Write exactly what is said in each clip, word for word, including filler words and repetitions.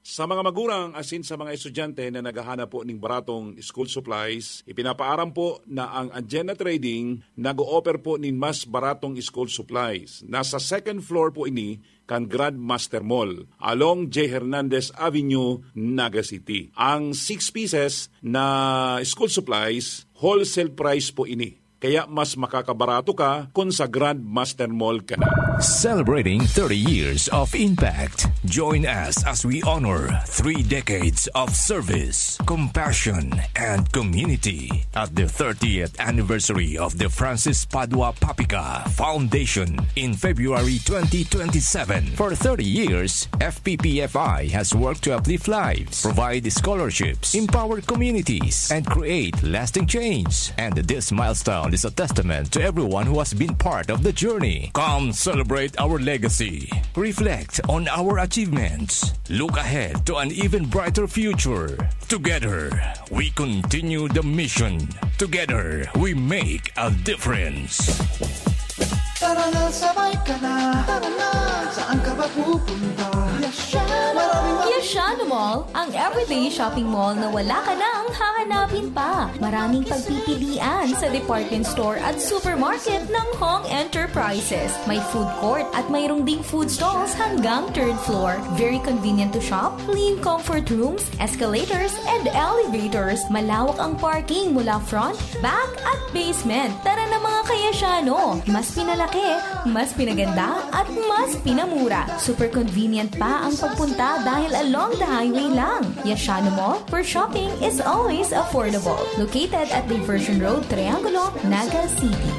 Sa mga magurang asin sa mga estudyante na naghahanap po ning baratong school supplies, ipinapaaram po na ang Agenda Trading nag-o-offer po nin mas baratong school supplies. Nasa second floor po ini kan Grandmaster Mall, along J Hernandez Avenue, Naga City. Ang six pieces na school supplies, wholesale price po ini. Kaya mas makakabarato ka kung sa Grandmaster Mall ka na. Celebrating thirty years of impact. Join us as we honor three decades of service, compassion, and community at the thirtieth anniversary of the Francis Padua Papica Foundation in February twenty twenty-seven. For thirty years, F P P F I has worked to uplift lives, provide scholarships, empower communities, and create lasting change. And this milestone is a testament to everyone who has been part of the journey. Come celebrate our legacy. Reflect on our achievements. Look ahead to an even brighter future. Together, we continue the mission. Together, we make a difference. Tara na, sabay ka na. Tara na, saan ka ba pupunta? Yashano! Maraming ma- Yashano Mall, ang everyday shopping mall na wala ka nang hahanapin pa. Maraming pagpipilian sa department store at supermarket ng Hong Enterprises. May food court at mayroong ding food stalls hanggang third floor. Very convenient to shop, clean comfort rooms, escalators, and elevators. Malawak ang parking mula front, back, at basement. Tara na, mga ka-Yashano! Mas pinalaki, mas pinaganda, at mas pinamura. Super convenient pa ang pagpunta dahil along the highway lang. Yashano Mall, where shopping is always affordable. Located at Diversion Road, Triangulo, Naga City.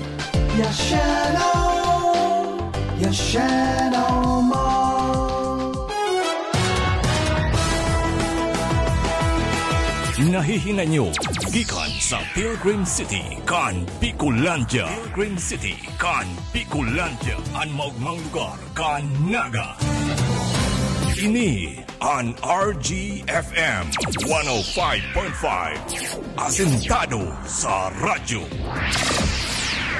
Yashano! Yashano Mall! Nahihinay nyo gikan sa Pilgrim City kan Bicolandia. Pilgrim City kan Bicolandia, an maogmang lugar kan Naga. Ini an R G F M one oh five point five. Asentado sa radyo.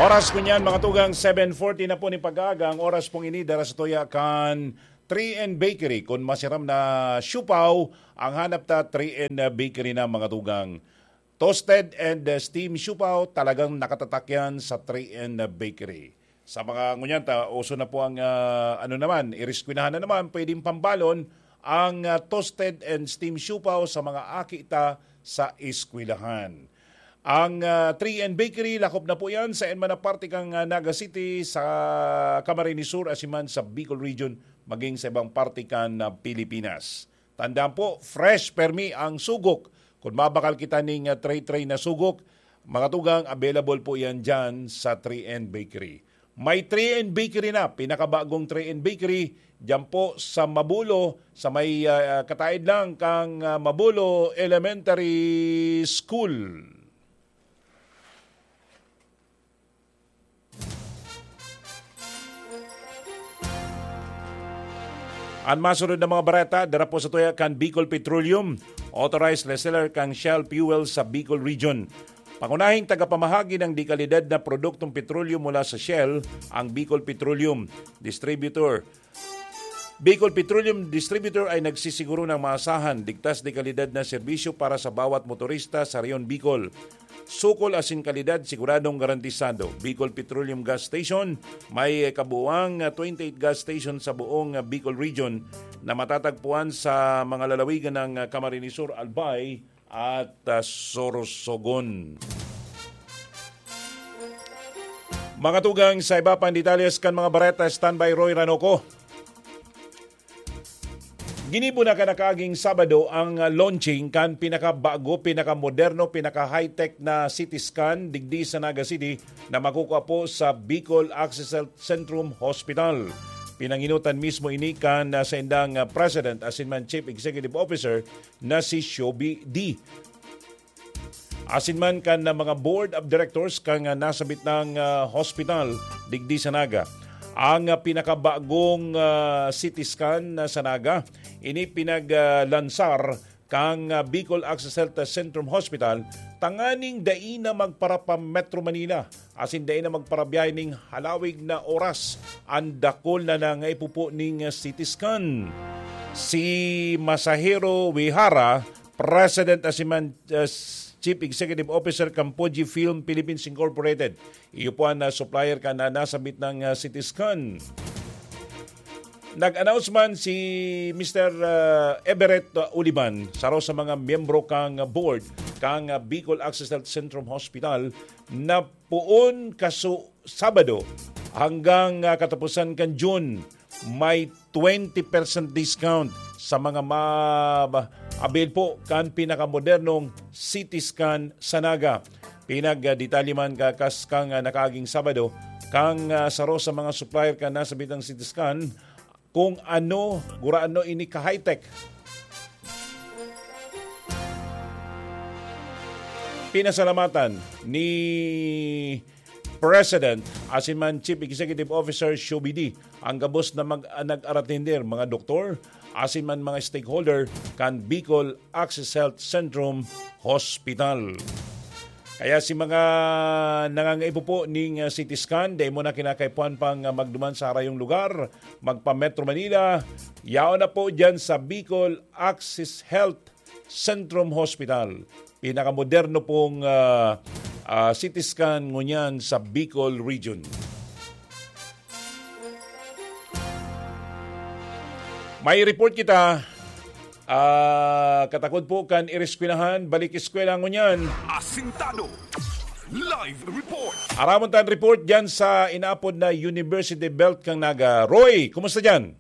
Oras ko niyan, mga tugang, seven forty na po ni pag-aaga. Ang oras pong ini, dara sa tuya kan three N Bakery. Kun masiram na siopao ang hanap ta, three N Bakery na, mga tugang. Toasted and, uh, steam siopao, talagang nakatatak yan sa three N Bakery. Sa mga ngunyan ta, uso na po ang, uh, ano naman, iriskwelahan na naman, pwedeng pambalon ang, uh, toasted and steam siopao sa mga aki ta sa eskwelahan. Ang, uh, three N Bakery, lakop na po yan sa enman na parte kan, uh, Naga City, sa Camarines Sur, asin man sa Bicol Region, maging sa ibang parte kan, uh, Pilipinas. Tandaan po, fresh permi ang sugok. Kung mabakal kita ning, ah, tray-tray na sugok, mga tugang, available po yan dyan sa three N Bakery. May three N Bakery na, pinakabagong three N Bakery, dyan po sa Mabulo, sa may, ah, kataid lang kang, ah, Mabulo Elementary School. An masunod na mga bareta, dara po sa tuya kan Bicol Petroleum, authorized reseller kan Shell Fuel sa Bicol Region. Pangunahing tagapamahagi ng dekalidad na produktong petrolyo mula sa Shell, ang Bicol Petroleum Distributor. Bicol Petroleum Distributor ay nagsisiguro ng maasahan, ligtas de kalidad na serbisyo para sa bawat motorista sa Rehiyon Bicol. Sukol asin kalidad siguradong garantisado. Bicol Petroleum Gas Station, may kabuuang, ah, twenty-eight gas station sa buong, ah, Bicol Region na matatagpuan sa mga lalawigan ng, ah, Camarines Sur, Albay, at, ah, Sorsogon. Mga tugang, sa iba pang detalles kan mga bareta, standby Roy Ranoco. Ginibo na kan nakaaging Sabado ang, ah, launching kan pinakabago, pinakamoderno, pinaka-high-tech na C T scan digdi sa Naga City na makukua po sa Bicol Access Health Centrum Hospital. Pinanginutan mismo ini kan, ah, saindang, ah, President asin man Chief Executive Officer na si Shobi D. Asin man kan, ah, mga board of directors kan, ah, nasabit nang, ah, hospital digdi sa Naga. Ang, ah, pinakabagong, ah, C T scan na sa Naga, ini pinag, ah, lansar kan, ah, Bicol Access Health Centrum Hospital tanganing dai na magpara pa Metro Manila asin dai na magparabiyahe ning halawig na oras an dakul na nangaipupo ning, ah, C T scan. Si Masahiro Uehara, President asin man, uh, Chief Executive Officer kan Fuji Film Philippines Incorporated. Iyo po ang, uh, supplier kan, uh, nasabit na, uh, C T scan. Nag-announce man si Mister, uh, Everett, uh, Uliban, saro sa mga miyembro kan, uh, board kan, uh, Bicol Access Health Centrum Hospital, na poon kaso Sabado hanggang, ah, katapusan kan June, may twenty percent discount sa mga ma-, ma-, avail po kan pinakamodernong C T scan sa Naga. Pinagdetalye man kakas kan, ah, nakaaging Sabado, kan, ah, saro sa mga supplier kan nasabitang C T scan, kung ano, gurano ini ka-high-tech. Pinasalamatan ni President asin man Chief Executive Officer Shobidi ang gabos na mag-, nag-aratender, mga doktor, asin man mga stakeholder kan Bicol Access Health Centrum Hospital. Kaya si mga nangangaipo po ning, ah, C T scan, dai mo na kinakaipuhan pang, ah, magduman sa harayong lugar, magpa-Metro Manila, yaon na po dyan sa Bicol Access Health Centrum Hospital. Pinakamoderno pong, ah, ah, C T scan ngunyan sa Bicol Region. May report kita, ah, katakod po kan ireskwelahan, balik eskwela ngunyan. Asintado. Live report. Aramon tan report dyan sa inaapod na University Belt kan Naga. Roy, kumusta dyan?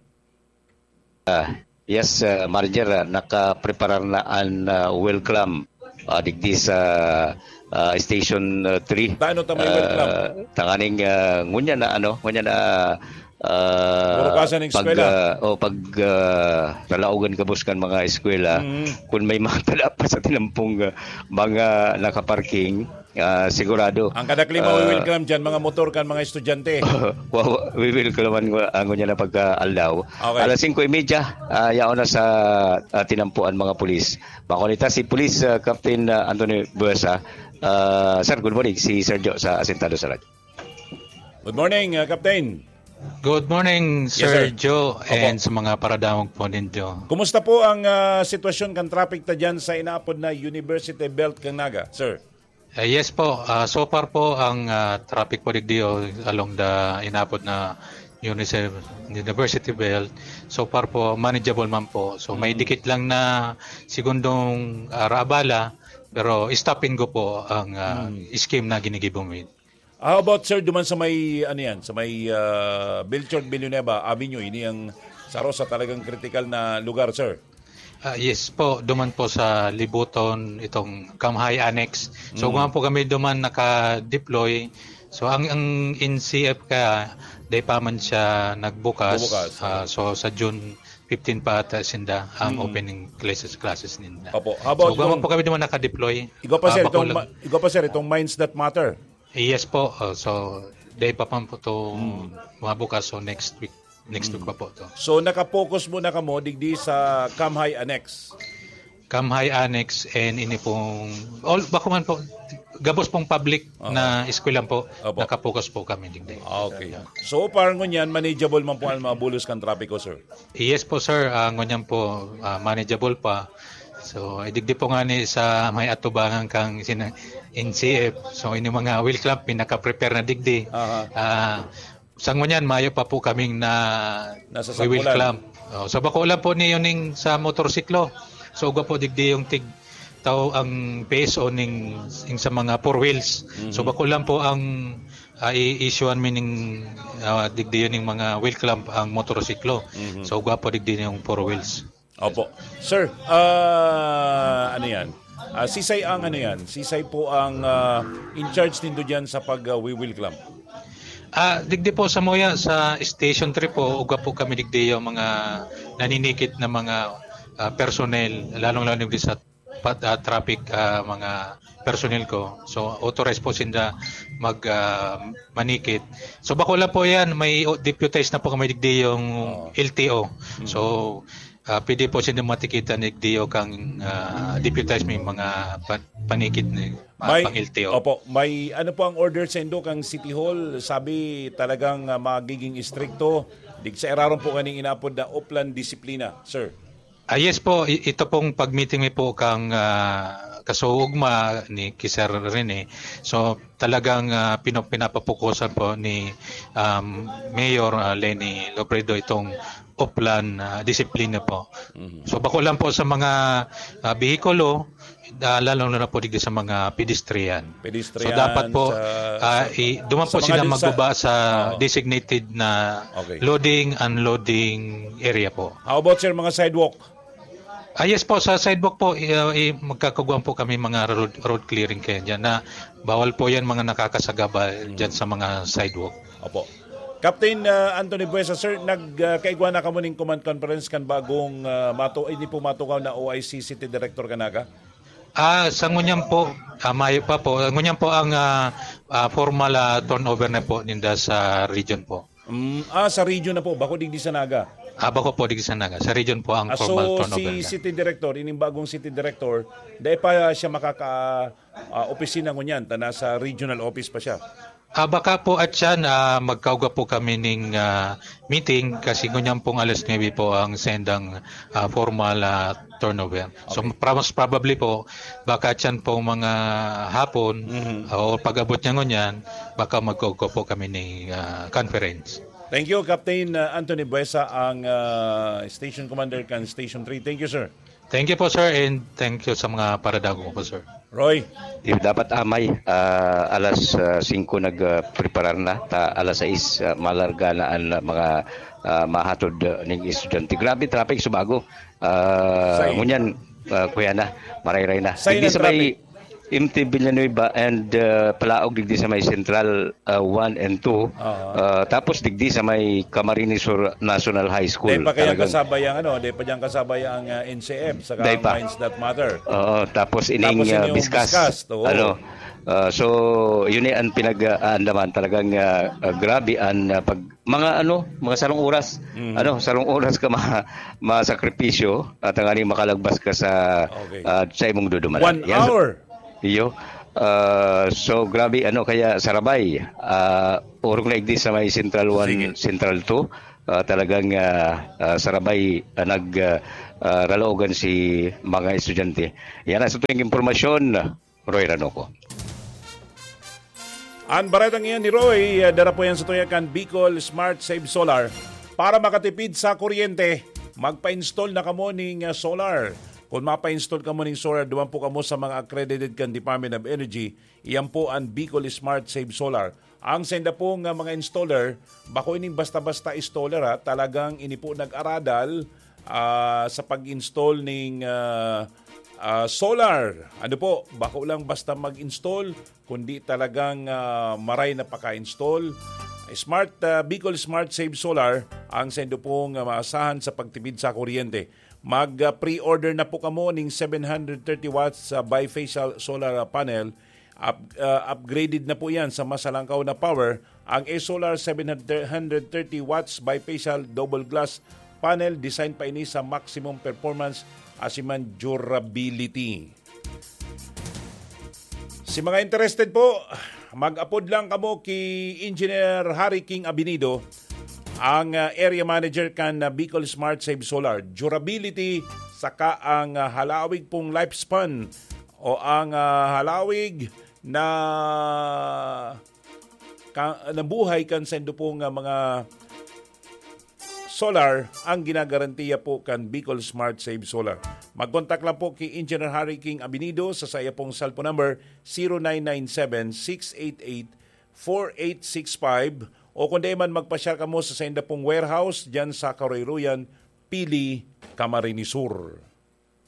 Ah, yes, ah, Marger, ah, nakapreparar na an, ah, welcome, ah, digdi sa, ah, Station, ah, three. Paano ta may welcome? Ah, tanganing, ah, ngunyan na, ano, ngunyan na, ah, Burukasan ng pag, eskwela. Ah, o pag, ah, lalaogan kabos kan mga eskwela, Mm. kung may mga tala pa sa tinampong, ah, mga nakaparking, ah, sigurado. Ang kadakli Ah, mawi-welcome dyan, mga motor kan mga estudyante. Wa-, wa-, we will kalaman ko ang ngunyan na pagka-aldaw. Okay. Alas singko y media, ah, yaon na sa, ah, tinampuan mga pulis. Makunita si Pulis, ah, Captain, ah, Anthony Buesa. Ah, sir, good morning. Si Sir Joe sa Asintado sa Radyo. Good morning, ah, Captain. Good morning, Yes, Sir sir. Joe, Opo. and sa mga paradamog po ninyo. Kumusta po ang, ah, sitwasyon kan traffic ta dyan sa inaapod na University Belt kan Naga, sir? Eh, yes po. Ah, so far po, ang, ah, traffic po digdi o along the inapod na Unicef-, University Belt, so far po, manageable man po. So, may Mm. dikit lang na segundong, ah, raabala, pero stop and go po ang, ah, Mm. scheme na ginigibo mo. How about, sir, duman sa may, ano yan, sa may, ah, Melchor Villanueva Avenue, ini ang saro sa talagang critical na lugar, sir? Ah, yes po, duman po sa Libuton, itong Kamhay Annex. So, Mm. kung po kami duman naka-deploy, so ang, ang N C F ka, dai pa man siya nagbukas. Bubukas, Ah, oo. so, sa June fifteen pa ata sinda ang Mm. opening classes, classes ninda. Opo. How about So, kung kung po kami duman naka-deploy, Igwa pa, ah, sir, bako itong lang. ma-, igwa pa, sir, itong Minds That Matter. Yes po. Oh, so, dai pa man po to Mm. mabukas. So, next week. Next week Mm. pa po to. So, nakapokus muna kamo digdi sa Kamhay Annex? Kamhay Annex and ini pong, all, bako man po, gabos pong public Aha. na eskwelahan po, Opo. nakapokus po kami digdi. Ah, okay. So far, ngunyan, manageable man po ang mga bulos kan trapiko, sir? Yes po, sir. Ah, ngunyan po, ah, manageable pa. So, idigdi po nga ni sa may atubangan kang sina-, N C F. So, ini mga wheel clamp, pinaka-prepare na digdi. Aha. Ah, sa ngunyan, mayo pa po kaming na Nasasakpulan. wheel clamp. Oh, so, bako lang po niyo ning sa motorsiklo. So, ugwa po digdi yung tig tao ang P S O ning, ning sa mga four wheels. So, Mhm. bako lang po ang, ah, i-issuean mi ning, ah, digdi yun yung mga wheel clamp ang motorsiklo. Mhm. So, ugwa po digdi yung four wheels. Opo. Sir, ah, ano yan? Ah, sisay ang ano yan? Sisay po ang, ah, in charge nindo dyan sa pag, ah, wheel clamp? Ah, digdi po sa Moya, sa Station three po, ugwa po kami digdi yung mga naninikit na mga, ah, personnel, lalong-lalo digdi sa pat-, ah, traffic, ah, mga personnel ko. So, authorized po sinda mag, ah, manikit. So, bako lang po yan, may o-, deputized na po kami digdi yung Oo. L T O. Mm. So, ah, pwede po sinda matikitan digdi yung kang, ah, deputized may mga pa-, panikit na, ah, May, pang L T O. Opo, may ano po ang order sa indo kang City Hall? Sabi talagang, ah, magiging istrikto. Dig sa irarom po kaning inapod na Oplan Disiplina, sir. Ah, yes po, i- ito pong pag-meeting mi po kang, ah, kasuugma ni ki Sir Rene. So, talagang, ah, pino- pinapapukusan po ni, um, Mayor, ah, Leni Lobredo itong Oplan, ah, disiplina po. Mhm. So, bako lang po sa mga, ah, behikulo, ah, lalo na po digdi sa mga pedestrian. Pedestrian, So, dapat po, sa, ah, sa, i- duman sa po mga sila di- sa magbaba sa Oo. designated na Okay. loading, unloading area po. How about, sir, mga sidewalk? Ah, yes po, sa sidewalk po, i- ah, i- magkakaguan po kami mga road, road clearing kayo dyan na bawal po yan mga nakakasagabal Mm. dyan sa mga sidewalk. Opo. Captain, ah, Anthony Buesa, sir, nag, ah, kaigwa na kamo ning command conference kan bagong, ah, mato-, hindi po matukaw na O I C City Director kan Naga? Ah, sa ngunyan po, ah, mayo pa po. Ngunyan po ang, ah, ah, formal, ah, turnover na po ninda sa region po. Mm, ah, sa region na po, bako digdi sa Naga. Ah, bako po digdi sa Naga. Sa region po ang Ah, formal so turnover si na. City Director, ining bagong City Director, dai pa siya makaka, ah, opisina ngunyan, ta nasa regional office pa siya. Ah, baka po at yan, ah, magkauga po kami ning, ah, meeting kasi ngunyan pong alas nuebe po ang sendang, ah, formal, ah, turnover. So, Okay. pra- most probably po, baka at yan pong mga hapon, Mhm. ah, o pag-abot niya ngunyan, baka magkauga po kami ning, ah, conference. Thank you, Captain, ah, Anthony Buesa, ang, ah, Station Commander kan Station three. Thank you, sir. Thank you po, sir, and thank you sa mga paradagong po, sir. Roy. Di, dapat amay, ah, alas, ah, singko nag, ah, preparar na, ta alas sais, ah, malarga na an, ah, mga, ah, mahatod, ah, ning estudyante. Grabe traffic sa bago. Ah, Say. ngunyan, ah, kuya na, marayray na. Say Digdi ng sa may traffic. M T Villanueva and, ah, Palaog digdi sa may Central, ah, one and two. Aha. Ah, tapos digdi sa may Camarines Sur National High School. Di pa kayang Talagang kasabay ang ano, di pa dyan kasabay ang, ah, N C F, saka Di ang pa. Minds That Matter. Oo, tapos ining, Tapos ah, ining Biskas. Biskas, oo. Ano, ah, so, yun eh, ang pinag-aandaman. Talagang, ah, ah, grabe ang, ah, pag, mga ano, mga sarong oras. Mm. Ano, sarong oras ka ma-, masakripisyo at ang aning makalagbas ka sa, Okay. ah, sa imong dudumanan. One Yan sa hour. Iyo. Ah, so, grabe, ano, kaya sarabay. Ah, orog na igdi sa may Central one, Sige. Central two. Ah, talagang, ah, ah, sarabay, ah, nag, ah, ah, ralaogan si mga estudyante. Yan ang sa tuwing impormasyon, Roy Ranoco. An baretang iyan ni Roy, ah, dara po yan sa tuya kan Bicol Smart Save Solar. Para makatipid sa kuryente, magpa-install na kamo ning, ah, solar. Kung mapa-install kamo ning solar, duman po kamo sa mga accredited kan Department of Energy. Iyan po an Bicol Smart Save Solar. Ang senda po nga mga installer, bako ining basta-basta installer, ha, talagang ini po nag-aradal, ah, sa pag-install ning, ah, ah, solar. Ano po, bako lang basta mag-install, kundi talagang, ah, maray na paka-install. Smart, ah, Bicol Smart Save Solar ang sendo pong, ah, maasahan sa pagtipid sa kuryente. Mag, ah, pre-order na po kamo ning seven hundred thirty watts, ah, bifacial solar, ah, panel. Up-, ah, upgraded na po yan sa mas halangkaw na power. Ang A-Solar seven hundred thirty watts bifacial double glass panel, design pa ini sa maximum performance asin man durability. Si mga interested po, mag-apod lang kamo ki Engineer Harry King Abinido, ang, ah, area manager kan, ah, Bicol Smart Save Solar. Durability, saka ang, ah, halawig pong lifespan o ang, ah, halawig na ka-, na buhay kan sendo pong, ah, mga solar ang ginagarantiya po kan Bicol Smart Save Solar. Mag-contact lang po ki Engineer Harry King Abinido sa saya pong cellphone number, zero nine nine seven, six eight eight, four eight six five, o kung di man, magpasyal kamo sa sainda pong warehouse dyan sa Karoyroyan, Pili, Camarines Sur.